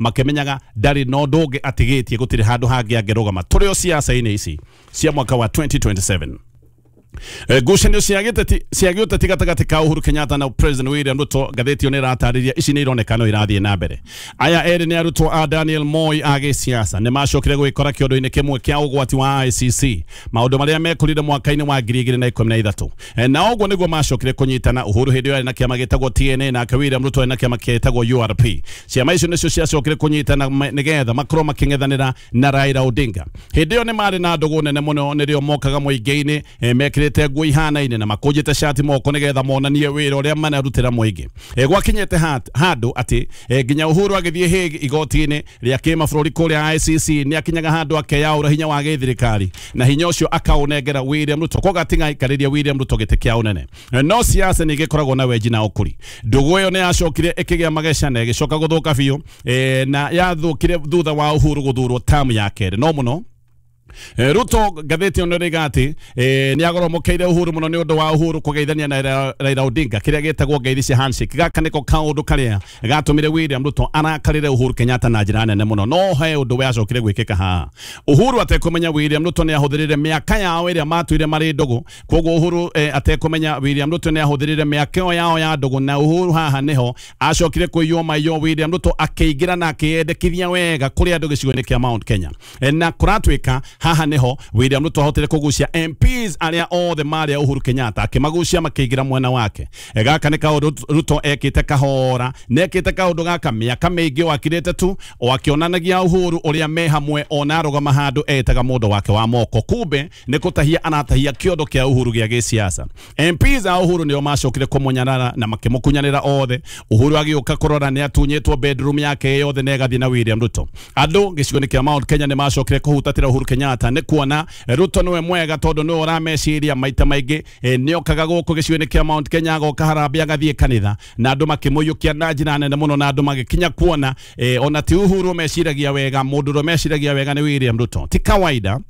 Makĩmenyaga ndarĩ na ũndũ ũngĩ atigĩtie, gũtirĩ handũ hangĩ angĩrũgama. Tũrĩ o ciaca-inĩ ici cia mwaka wa 2027. Ngucanio cia gĩteti cia gĩũteti gatagatĩ ka Uhuru Kenyatta na President William Ruto, ngathĩti ĩyo nĩ ĩratarĩria ici nĩ ironeka no irathiĩ na mbere. Aya erĩ nĩ arutwo a Daniel Moi a gĩsiasa, nĩ macokire gwĩkora kĩondo-inĩ kĩmwe kĩa ũgwati wa ICC, maũndũ marĩa mekũrire mwaka-inĩ wa 2013. Na ũguo nĩguo macokire kũnyitana. Uhuru hĩndĩ ĩyo arĩ na kĩama gĩtagwo TNA, nake William Ruto arĩ na kĩama gĩtagwo URP. Ciama icio nĩcio ciacokire kũnyitana nĩgetha makorwo makĩng'ethanĩra na Raila Odinga. Hĩndĩ ĩyo nĩ marĩ na ndũgũ nene mũno, nĩrĩo mokaga mũingĩ-inĩ mekĩrĩte nguo ihanaine na makũnjĩte cati moko nĩgetha monanie wĩra ũrĩa manarutĩra mũingĩ. Gwakinyĩte handũ atĩ nginya Uhuru agĩthiĩ Hague igoti-inĩ rĩa kĩmabũrũri kũrĩa ICC, nĩ akinyaga handũ akeyaũra hinya wa gĩthirikari na hinya ũcio akaũnengera William Ruto, koguo atigaikarĩria William Ruto gĩtĩ kĩa ũnene. No siasa nĩ igĩkoragwo na wenji na ũkũri. Ndũgũ ĩyo nĩ yacokire ĩkĩgĩa mageca na ĩgĩcoka gũthũka biũ, na yathũkire thutha wa Uhuru gũthurwo tamu ya kerĩ. No mũno Ruto, ngathĩti ĩno ĩroiga atĩ nĩ agoromokeire Uhuru mũno nĩ ũndũ wa Uhuru kũgeithania na Raila Odinga kĩrĩa gĩtagwo ngeithi cia handshake. Gaka nĩko kaũndũ karĩa gatũmire William Ruto arakarĩre Uhuru Kenyatta na njĩra nene mũno. No he ũndũ wacokire gwĩkĩka haha Uhuru atekũmenya. William Ruto nĩ ahũthĩrire mĩaka yao ĩrĩa matũire marĩ ndũgũ. Koguo Uhuru atekũmenya, William Ruto nĩ ahũthĩrire mĩaka ĩyo yao ya ndũgũ, na Uhuru haha nĩho acokire kũiywo maiyo. William Ruto akĩingĩra na akĩyendekithia wega kũrĩ andũ gĩcigo-inĩ kĩa Mount Kenya. Na kũratuĩka haha nĩho William Ruto ahotire kũgucia MPs arĩa othe marĩ a Uhuru Kenyatta, akĩmagucia makĩingĩra mwena wake. Gaka nĩ kaũndũ Ruto ekĩte kahora, na ekĩte kaũndũ gaka mĩaka mĩingĩ o akirĩte tu o akĩonanagia Uhuru ũrĩa me hamwe, ona arũgama handũ etaga mũndũ wake wa moko, kumbe nĩ kũtahia aratahia kĩondo kĩa Uhuru gĩa gĩsiasa. MPs a Uhuru nĩo macokire kũmũnyarara na makĩmũkunyanĩra othe. Uhuru agĩũka kũrora nĩ atunyĩtwo bedroom yake yothe na ĩgathiĩ na William Ruto. Andũ gĩcigo-inĩ kĩa Mount Kenya nĩ macokire kũhutatĩra Uhuru Kenyatta nĩ kuona Ruto nĩwe mwega, tondũ nĩwe ũrameciria maita maingĩ. Nĩokaga gũkũ gĩcigo-inĩ kĩa Mount Kenya, agoka harambee, agathiĩ kanitha, na andũ makĩmũiyũkia na njĩra nene mũno, na andũ magĩkinya kuona ona ti Uhuru meciragia wega, mũndũ ũrĩa meciragia wega nĩ William Ruto. Ti kawaida,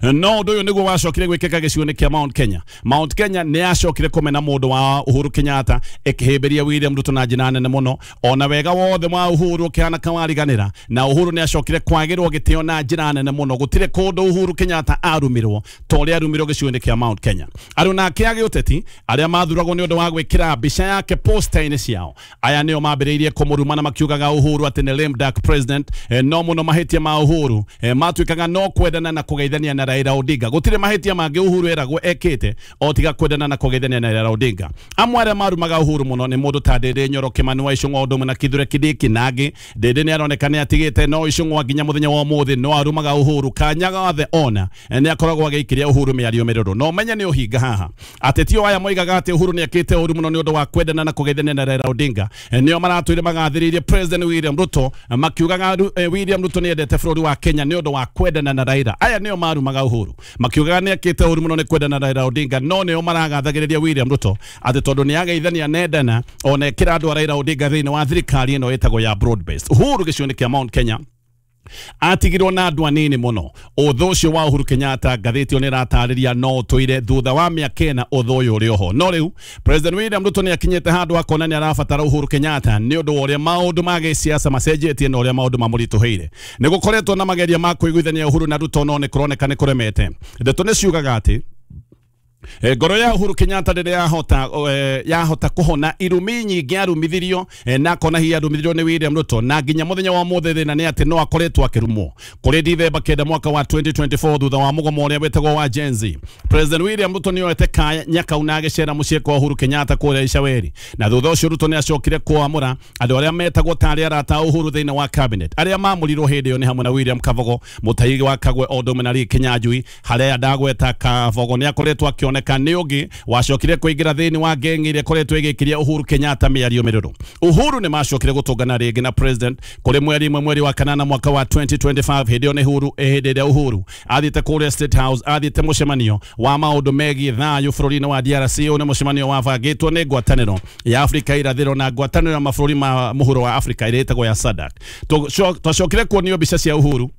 no ũndũ ũyũ nĩguo wacokire gwĩkĩka gĩcigo-inĩ kĩa Mount Kenya. Mount Kenya nĩ yacokire kũmena mũndũ wa Uhuru Kenyatta, ĩkĩhĩmbĩria William Ruto na njĩra nene mũno, ona wega wothe wa Uhuru ũkĩhana kawariganĩra. Na Uhuru nĩ acokire kwagĩrwo gĩtĩo na njĩra nene mũno. Gũtirĩ kũndũ Uhuru Kenyatta arumirwo ta ũrĩa arumirwo gĩcigo-inĩ kĩa Mount Kenya. Aruna ake a gĩũteti arĩa mathuragwo nĩ ũndũ wa gwĩkĩra mbica yake poster-inĩ ciao, aya nĩo mambĩrĩirie kũmũruma na makiugaga Uhuru atĩ nĩ lame duck president. No mũno mahĩtia ma Uhuru matuĩkaga no kwendana na kũgeithania na Raila Odinga. Gũtirĩ mahĩtia mangĩ Uhuru eragwo ekĩte o tiga kwendana na kũgeithania na Raila Odinga. Amwe arĩa marumaga Uhuru mũno nĩ mũndũ ta Ndindi Nyoro, Kimani wa Ichung'wa, ũndũ ũmwe na Kithure Kindiki. Nangĩ Ndindi nĩ aroneka nĩ atigĩte, no Ichung'wa nginya mũthenya wa ũmũthĩ no arumaga Uhuru. Kanya gothe ona nĩ akoragwo agĩikĩria Uhuru mĩario mĩrũrũ. No menye nĩ ũhinga haha. Ateti o aya moigaga atĩ Uhuru nĩ ekĩte ũru mũno nĩ ũndũ wa kwendana na kũgeithania na Raila Odinga nĩo maratũire magathĩrĩirie President William Ruto, makiugaga William Ruto nĩ endete bũrũri wa Kenya nĩ ũndũ wa kwendana na Raila. Aya nĩo marumaga Uhuru makiugaga nĩ ekĩte ũru mũno nĩ kwendana na Raila Odinga, no nĩo maragathagĩrĩria William Ruto atĩ tondũ nĩ ageithania nendana ona ekĩra andũ a Raila Odinga thĩinĩ wa thirikari ĩno ĩtagwo ya broad based. Uhuru gĩcigo-inĩ kĩa Mount Kenya atigirwo na andũ anini mũno. Ũthũ ũcio wa Uhuru Kenyatta, ngathĩti ĩyo nĩ ĩratarĩria, no ũtũire thutha wa mĩaka 4 ũthũ ũyũ ũrĩ oho. No rĩu President William Ruto nĩ akinyĩte handũ akona nĩ arabatara Uhuru Kenyatta nĩ ũndũ wa ũrĩa maũndũ ma gĩsiasa macenjetie na ũrĩa maũndũ mamũritũhĩire. Nĩ gũkoretwo na mageria ma kũiguithania Uhuru na Ruto, no nĩ kũroneka nĩ kũremete. Ndeto nĩ ciugaga atĩ ngoro ya Uhuru Kenyatta rĩrĩa yahota kũhona irumi nyingĩ arumithirio, na akona hihi arumithirio nĩ William Ruto, na nginya mũthenya wa ũmũthĩ thĩna nĩ atĩ no akoretwo akĩrumwo. Kũrĩ Dithemba 9 mwaka wa 2024, thutha wa mũgomo ũrĩa wĩtagwo wa Gen Z, President William Ruto nĩ oete kanya kau na agĩcera mũciĩ kwa Uhuru Kenyatta kũrĩa Icaweri. Na thutha ũcio Ruto nĩ acokire kwamũra andũ arĩa metagwo tarĩ arata a Uhuru thĩinĩ wa cabinet. Arĩa mamũrirwo hĩndĩ ĩyo nĩ hamwe na William Kabogo, Mutahi wa Kagwe, o ũndũ ũmwe na Lee Kinyanjui. Harĩa ndagweta Kabogo, nĩ akoretwo akĩoneka nĩ ũngĩ wacokire kũingĩra thĩinĩ wa ngeng'i ĩrĩa ĩkoretwo ĩgĩkĩria Uhuru Kenyatta mĩario mĩrũrũ. Uhuru nĩ macokire gũtũngana rĩngĩ na president kũrĩ mweri 1 mweri wa kanana mwaka wa 2025. Hĩndĩ ĩyo nĩ Uhuru hĩndĩ ĩrĩa Uhuru athiĩte kũrĩa State House, athiĩte mũcemanio wa maũndũ megiĩ thayũ bũrũri-inĩ wa DRC. Ũyũ nĩ mũcemanio wabangĩtwo nĩ ngwatanĩro ya Afrika irathĩro na ngwatanĩro ya mabũrũri ma mũhuro wa Afrika ĩrĩa ĩtagwo ya SADC. Twacokire kuonio mbica cia Uhuru.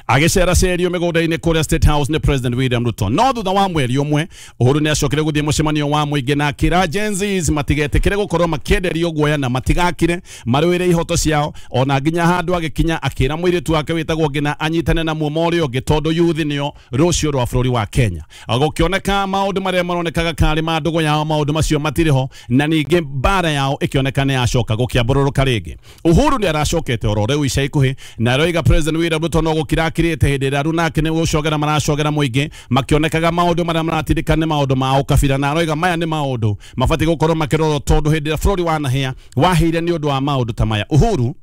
Agĩceracerio mĩgũnda-inĩ kũrĩa State House nĩ President William Ruto. No thutha wa mweri ũmwe Uhuru nĩ acokire gũthiĩ mũcemanio wa mũingĩ na akĩra Gen Zs matigetĩkĩre gũkorwo makĩenderio guoya na matigakire marũĩre ihoto ciao, ona nginya handũ agĩkinya akĩra mũirĩtu wake wĩtagwo Ngina anyitane na muomo ũrĩa ũngĩ tondũ youth nĩo rũciũ rwa bũrũri wa Kenya. Gũkĩoneka maũndũ marĩa maronekaga karĩ ma ndũgũ yao, maũndũ macio matirĩ ho, na ningĩ mbara yao ĩkĩoneka nĩ yacoka gũkĩambũrũrũka rĩngĩ. Uhuru nĩ aracokete oro rĩu ica ikuhĩ na aroiga President William Ruto no gũkirakirĩte hĩndĩ ĩrĩa arunake nĩ gũcogera maracogera mũingĩ makĩonekaga maũndũ marĩa maratindĩka nĩ maũndũ ma ũkabira, na aroiga maya nĩ maũndũ mabatiĩ gũkorwo makĩrorwo tondũ hĩndĩ ĩrĩa bũrũri wanahĩa wahĩire nĩ ũndũ wa maũndũ ta maya. Uhuru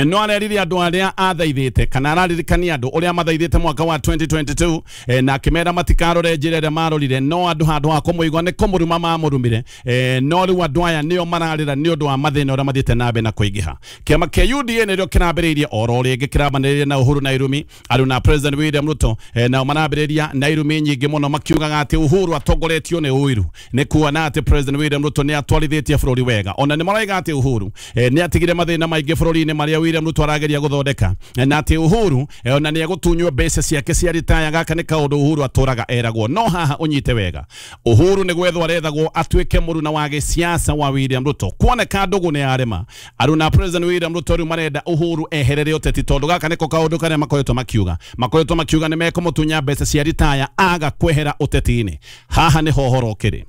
no arerire andũ arĩa athaithĩte kana araririkania andũ ũrĩa mathaithĩte mwaka wa 2022, na akĩmera matikarore njĩra ĩrĩa marorire, no andũ handũ ha kũmũigua nĩ kũmũruma mamũrumire. No rĩu andũ aya nĩo mararĩra nĩ ũndũ wa mathĩna ũrĩa mathiĩte na mbere na kũingĩha. Kĩama kĩa UDA nĩrĩo kĩrambĩrĩirie oro rĩngĩ kĩrambanĩrĩria na Uhuru na irumi arũ na President William Ruto, nao marambĩrĩria na irumi nyingĩ mũno makiugaga atĩ Uhuru atongoretio nĩ ũiru, nĩ kuona atĩ President William Ruto nĩ atwarithĩtie bũrũri wega. Ona nĩ maroiga atĩ Uhuru nĩ atigire mathĩna maingĩ bũrũri-inĩ marĩa William Ruto arageria gũthondeka, na atĩ Uhuru ona nĩ egũtunywo mbeca ciake cia ritaya. Gaka nĩ kaũndũ Uhuru atũraga eragwo. No haha ũnyite wega, Uhuru nĩ gwethwo arethagwo atuĩke mũruna wa gĩsiasa wa William Ruto. Kuoneka ndũgũ nĩ yarema, aruna President William Ruto rĩu marenda Uhuru eherere ũteti tondũ gaka nĩko kaũndũ karĩa makoretwo makiuga nĩ mekũmũtunya mbeca cia ritaya aga kwehera ũteti-inĩ. Haha nĩho ũhoro ũkĩrĩ.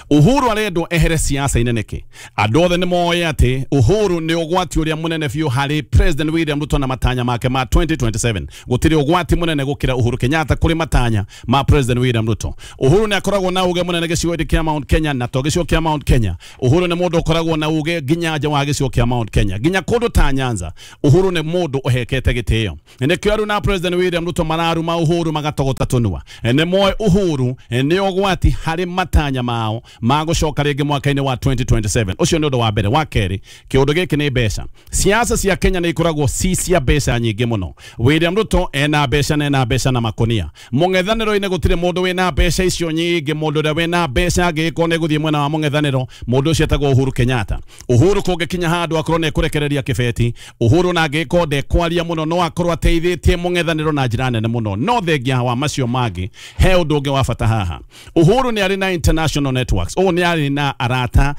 Uhuru arendwo ehere siasa-inĩ nĩkĩ? Andũ othe nĩ moĩ atĩ Uhuru nĩ ũgwati ũrĩa mũnene biũ harĩ President William Ruto na matanya make ma 2027. Gũtirĩ ũgwati mũnene gũkĩra Uhuru Kenyatta kũrĩ matanya ma President William Ruto. Uhuru nĩ akoragwo na uge mũnene gĩcigo-inĩ kĩa Mount Kenya, na to gĩcigo kĩa Mount Kenya. Uhuru nĩ mũndũ ũkoragwo na uge nginya nja wa gĩcigo kĩa Mount Kenya, nginya kũndũ ta Nyanza. Uhuru nĩ mũndũ ũhekete gĩtĩo. Nĩkĩo aruna President William Ruto mararuma Uhuru magatogota tũnua. Nĩ moĩ Uhuru nĩ ũgwati harĩ matanya mao ma gũcoka rĩngĩ mwaka-inĩ wa 2027. Ũcio nĩ ũndũ wa mbere. Wa kerĩ, kĩũndũ gĩkĩ nĩ mbeca. Siasa cia Kenya nĩ ikoragwo ci cia mbeca nyingĩ mũno. William Ruto ena mbeca na ena mbeca na makonia. Mũng'ethanĩro-inĩ gũtirĩ mũndũ wĩna mbeca icio nyingĩ. Mũndũ ũrĩa wĩna mbeca angĩgĩkorwo nĩ gũthiĩ mwena wa mũng'ethanĩro, mũndũ ũcio etagwo Uhuru Kenyatta. Uhuru kũngĩkinya handũ akorwo nĩ ekũrekereria kĩbeti, Uhuru na angĩgĩkorwo ndekwaria mũno no akorwo ateithĩtie mũng'ethanĩro na njĩra nene mũno. No thengia wa macio mangĩ, he ũndũ ũngĩ wa bata haha. Uhuru nĩ arĩ na international networks. Ũũ nĩ arĩ na arata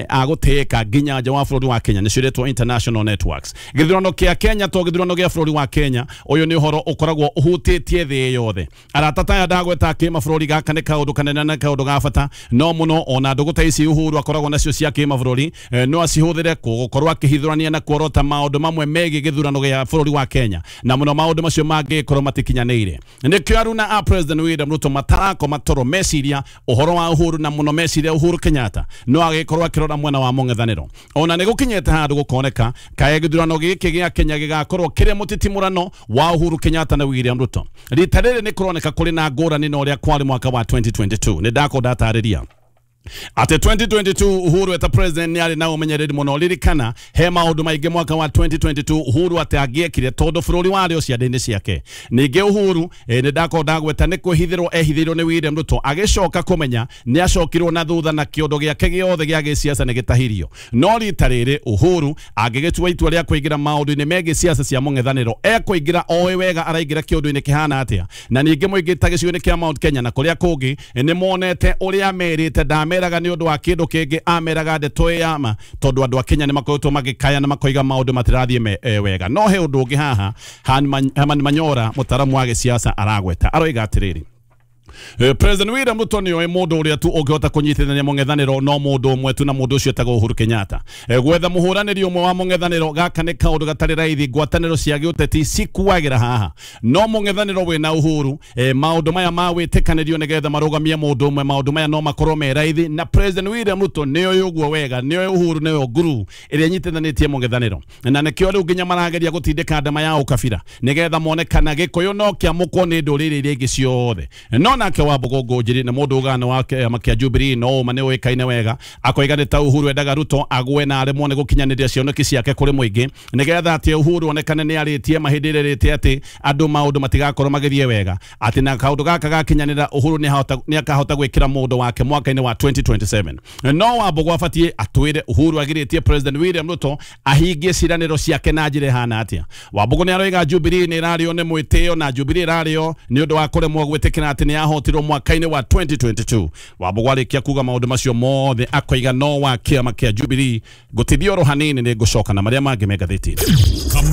a gũtĩĩka nginya nja wa bũrũri wa Kenya, nĩcio iretwo international networks. Gĩthurano kĩa Kenya to gĩthurano gĩa bũrũri wa Kenya, ũyũ nĩ ũhoro ũkoragwo ũhutĩtie thĩ yothe. Arata taya ndagweta kĩmabũrũri, gaka nĩ kaũndũ kanene na kaũndũ ga bata no mũno. Ona ndũgũ ta ici Uhuru akoragwo nacio cia kĩmabũrũri, no acihũthĩre gũkorwo akĩhithũrania na kuorota maũndũ mamwe megiĩ gĩthurano gĩa bũrũri wa Kenya, na mũno maũndũ macio mangĩkorwo matikinyanĩire. Nĩkĩo aruna a President William Ruto matarakoma toro meciria ũhoro wa Uhuru, na mũno meciria Uhuru Kenyatta no agĩkorwo akĩrora mwena wa mũng'ethanĩro. Ona nĩ gũkinyĩte handũ gũkoneka kaĩ gĩthurano gĩkĩ gĩa Kenya gĩgakorwo kĩrĩ mũtitimũrano wa Uhuru Kenyatta na William Ruto. Rita rĩrĩ nĩ kũroneka kũrĩ na ngũrani na ũrĩa kwarĩ mwaka wa 2022. Nĩ ndakorwo ndatarĩria atĩ 2022 Uhuru eta president nĩ arĩ na ũmenyereri mũno. Ririkana he maũndũ maingĩ mwaka wa 2022 Uhuru atĩ angĩekire tondũ bũrũri warĩ o ciande-inĩ ciake. Ningĩ Uhuru nĩ ndakorwo ndagweta nĩ kwĩhithĩrwo ehithĩirwo nĩ William Ruto, agĩcoka kũmenya nĩ acokirwo na thutha na kĩondo gĩake gĩothe gĩa gĩsiasa nĩ gĩtahirio. No rita rĩrĩ Uhuru angĩgĩtua itua rĩa kũingĩra maũndũ-inĩ megiĩ siasa cia mũng'ethanĩro, ekũingĩra oĩ wega araingĩra kĩũndũ-inĩ kĩhana atĩa. Na ningĩ mũingĩ ta gĩcigo-inĩ kĩa Mount Kenya na kũrĩa kũngĩ nĩ monete ũrĩa merĩte, ndameraga nĩ ũndũ wa kĩndũ kĩngĩ, ameraga ndeto ĩ ma tondũ andũ a Kenya nĩ makoretwo magĩkaya na makoiga maũndũ matirathiĩ wega. No he ũndũ ũngĩ haha Herman Manyora, mũtaaramu wa gĩsiasa, aragweta, aroiga atĩrĩrĩ, President William Ruto nĩ oĩ mũndũ ũrĩa tu ũngĩhota kũnyitithania mũng'ethanĩro no mũndũ ũmwe tu, na mũndũ ũcio etagwo Uhuru Kenyatta. Gwetha mũhũranĩri ũmwe wa mũng'ethanĩro gaka nĩ kaũndũ gatarĩ raithi. Ngwatanĩro cia gĩũteti cikuagĩra haha, no mũng'ethanĩro wĩna Uhuru, maũndũ maya ma wĩtĩkanĩrio nĩgetha marũgamie mũndũ ũmwe, maũndũ maya no makorwo me raithi. Na President William Ruto nĩ oĩ ũguo wega, nĩ oĩ Uhuru nĩyo nguru ĩrĩa ĩnyitithanĩtie mũng'ethanĩro, na nĩkĩo rĩu nginya marageria gũtindĩka ndama ya ũkabira nĩgetha mone kana Gĩkũyũ no kĩamũkwo nĩ ndũrĩrĩ iria ingĩ ciothe. No Nake Wambugu Ngũnjiri nĩ mũndũ ugana wa kĩama kĩa Jubilee no ũma nĩ ũĩkaine wega, akoiga nĩ ta Uhuru endaga Ruto agwe na aremwo nĩ gũkinyanĩria cioneki ciake kũrĩ mũingĩ, nĩgetha atĩ Uhuru onekane nĩ arĩtie mahĩndĩ ĩrĩa atĩ andũ maũndũ matigakorwo magĩthiĩ wega, atĩ na kaũndũ gaka gakinyanĩra Uhuru nĩ akahota gwĩkĩra mũndũ wake mwaka-inĩ wa 2027. No Wambugu abatiĩ atwĩre Uhuru agirĩtie President William Ruto ahingie ciĩranĩro ciake na njĩra ĩhana atĩa. Wambugu nĩ aroiga Jubilee nĩ ĩrarĩo nĩ mwĩtĩo na Jubilee ĩrarĩo nĩ ũndũ wa kũremwo gwĩtĩkĩra atĩ nĩ yahotirwo mwaka-inĩ wa 2022. Wambugu arĩkia kuga maũndũ macio mothe akoiga no wa kĩama kĩa Jubilee gũtithio oro hanini nĩ ngũcoka na marĩa mangĩ me ngathĩti-inĩ.